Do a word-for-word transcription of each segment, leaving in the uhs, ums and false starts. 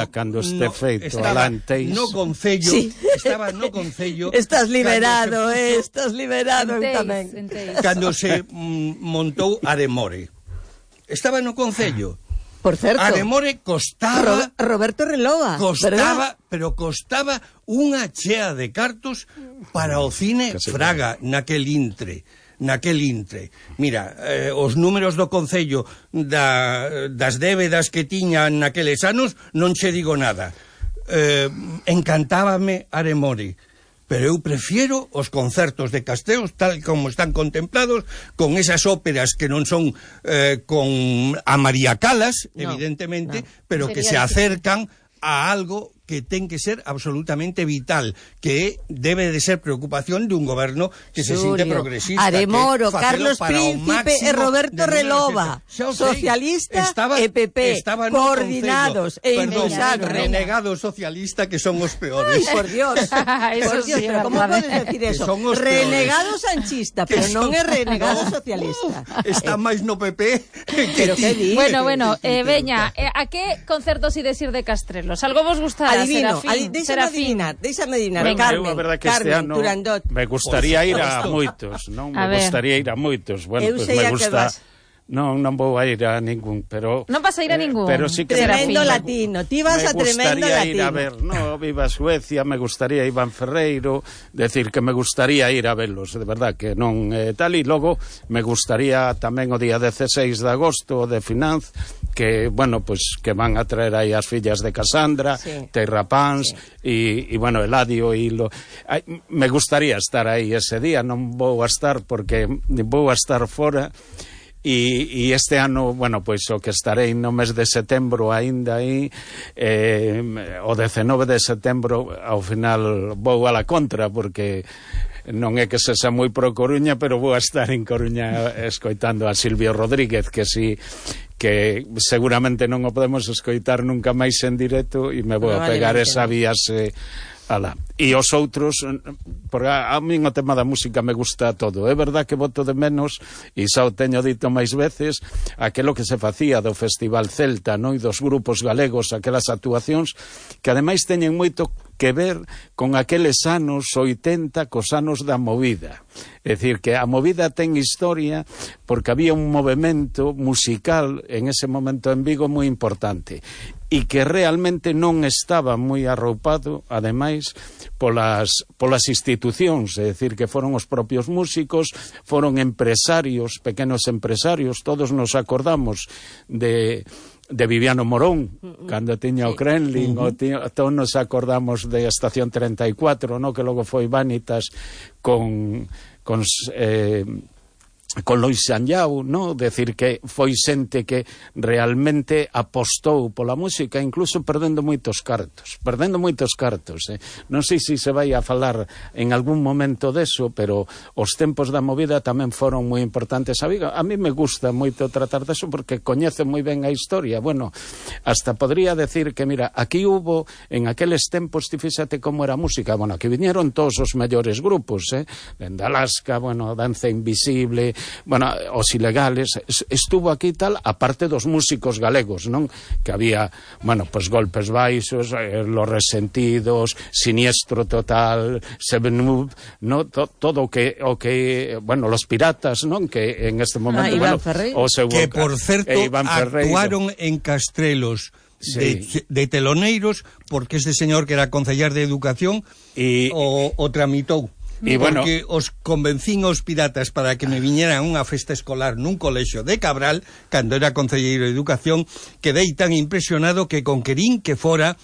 día cando este no, feito alanteis. No concello, sí. estaba no concello. Estás liberado, se, eh, estás liberado eu tamén. Cando se mm, montou Aremore. Estaba no concello. Por certo. Aremore costaba... Ro Roberto Relova, Costaba, ¿verdad? pero costaba unha chea de cartos para o cine Fraga, naquel intre. naquel intre. Mira, eh, os números do Concello da, das débedas que tiñan naqueles anos non che digo nada. Eh, encantábame Aremore, pero eu prefiero os concertos de Casteos tal como están contemplados, con esas óperas que non son eh, con a María Calas, no, evidentemente, no. pero Sería que se acercan a algo que ten que ser absolutamente vital, que debe de ser preocupación de un goberno que se sinte progresista. Aremoro, Carlos Príncipe e Roberto Relova, socialista e P P, coordinados e impulsados. Renegados socialistas que son os peores. Ay, por Dios, por Dios, pero ¿cómo puedes decir eso? Renegado sanchista, pero non é renegado socialista. Está máis no P P que pero que di. Bueno, bueno, eh, veña, eh, a que concertos ides ir de Castrelos? Algo vos gustará? Adivino, adi déxame adivinar, déxame adivinar, bueno, Carmen, eu, a verdad que Carmen, este ano Turandot. Me gustaría ir a moitos, non? Me gustaría ir a moitos. Bueno, eu pues sei me a gusta... que vas. Non, non vou a ir a ningún, pero... Non vas a ir a ningún? Eh, pero sí que tremendo me, latino, ti vas a tremendo latino. Me gustaría ir a ver, no, viva Suecia, me gustaría Iván Ferreiro, decir que me gustaría ir a verlos, de verdad, que non eh, tal, e logo me gustaría tamén o día dieciséis de agosto de Finanz, que, bueno, pues que van a traer aí as fillas de Casandra, sí. Terra Pans, e, sí. bueno, Eladio, e lo... Ay, me gustaría estar aí ese día, non vou a estar porque vou a estar fora. E, e este ano, bueno, pois o que estarei no mes de setembro aínda aí, eh, o dezenove de setembro ao final vou a la contra, porque non é que se xa moi pro Coruña, pero vou a estar en Coruña escoitando a Silvio Rodríguez, que si que seguramente non o podemos escoitar nunca máis en directo, e me vou a pegar esa viaxe ala. E os outros, porque a, a min o tema da música me gusta todo. É verdad que voto de menos, e xa o teño dito máis veces, aquelo que se facía do Festival Celta, non? E dos grupos galegos, aquelas actuacións que ademais teñen moito que ver con aqueles anos oitenta, cos anos da movida. É dicir, que a movida ten historia porque había un movimento musical en ese momento en Vigo moi importante, e que realmente non estaba moi arroupado, ademais, polas, polas institucións, é dicir, que foron os propios músicos, foron empresarios, pequenos empresarios, todos nos acordamos de... de Viviano Morón, uh -huh. cando tiña sí. o Kremlin, uh -huh. todos nos acordamos de Estación treinta e cuatro, no? Que logo foi Vanitas con... con eh, con Lois Sanllao, no? Decir que foi xente que realmente apostou pola música, incluso perdendo moitos cartos, perdendo moitos cartos, eh? Non sei se se vai a falar en algún momento deso, pero os tempos da movida tamén foron moi importantes. A, a mí me gusta moito tratar deso porque coñece moi ben a historia. Bueno, hasta podría decir que, mira, aquí hubo, en aqueles tempos, ti fíxate como era a música, bueno, aquí viñeron todos os mellores grupos, eh? Dende Alaska, bueno, Danza Invisible, bueno, os Ilegales, estuvo aquí tal, aparte dos músicos galegos, non? Que había, bueno, pues Golpes Baixos, eh, Los Resentidos, Siniestro Total, Seven Up, no? To, todo o que, o que, bueno, Los Piratas, non? Que en este momento, ah, bueno, o seu, que por certo eh, actuaron en Castrelos. Sí. De, de teloneros, porque este señor que era concellar de Educación y, o, o tramitou. E porque bueno, os convencín os piratas para que me viñeran a unha festa escolar nun colexio de Cabral, cando era concelleiro de Educación, quedei tan impresionado que con querín que fora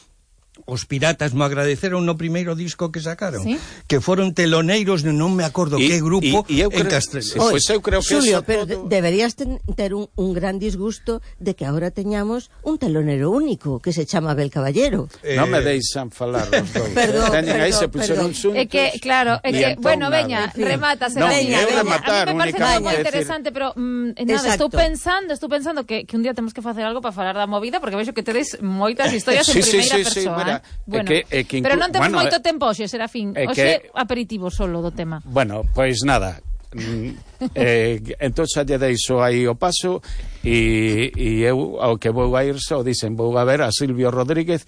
os piratas me agradeceron no primeiro disco que sacaron, ¿sí? Que foron teloneiros, non me acordo que grupo, y, y en Castrelos. Sí, pues eu creo que Xulio, eso pero todo... deberías ten, ter un, un gran disgusto de que ahora teñamos un telonero único que se chama Abel Caballero. Eh... Non me deixan falar os dous. Perdón, Teñen aí, se puxeron xuntos. É que, claro, é que, bueno, veña, remata, no, veña, veña. Rematar, a mí me parece moi decir... interesante, pero mm, nada, Exacto. estou pensando, estou pensando que, que un día temos que facer algo para falar da movida, porque vexo que tedes moitas historias sí, en primeira sí, sí, persoa. Sí, mira, bueno, que, é que pero non temos bueno, moito tempo hoxe, Serafín. Hoxe que... aperitivo solo do tema. Bueno, pois pues nada, eh, entón xa lle deixo aí o paso e, e eu ao que vou a ir só dicen, vou a ver a Silvio Rodríguez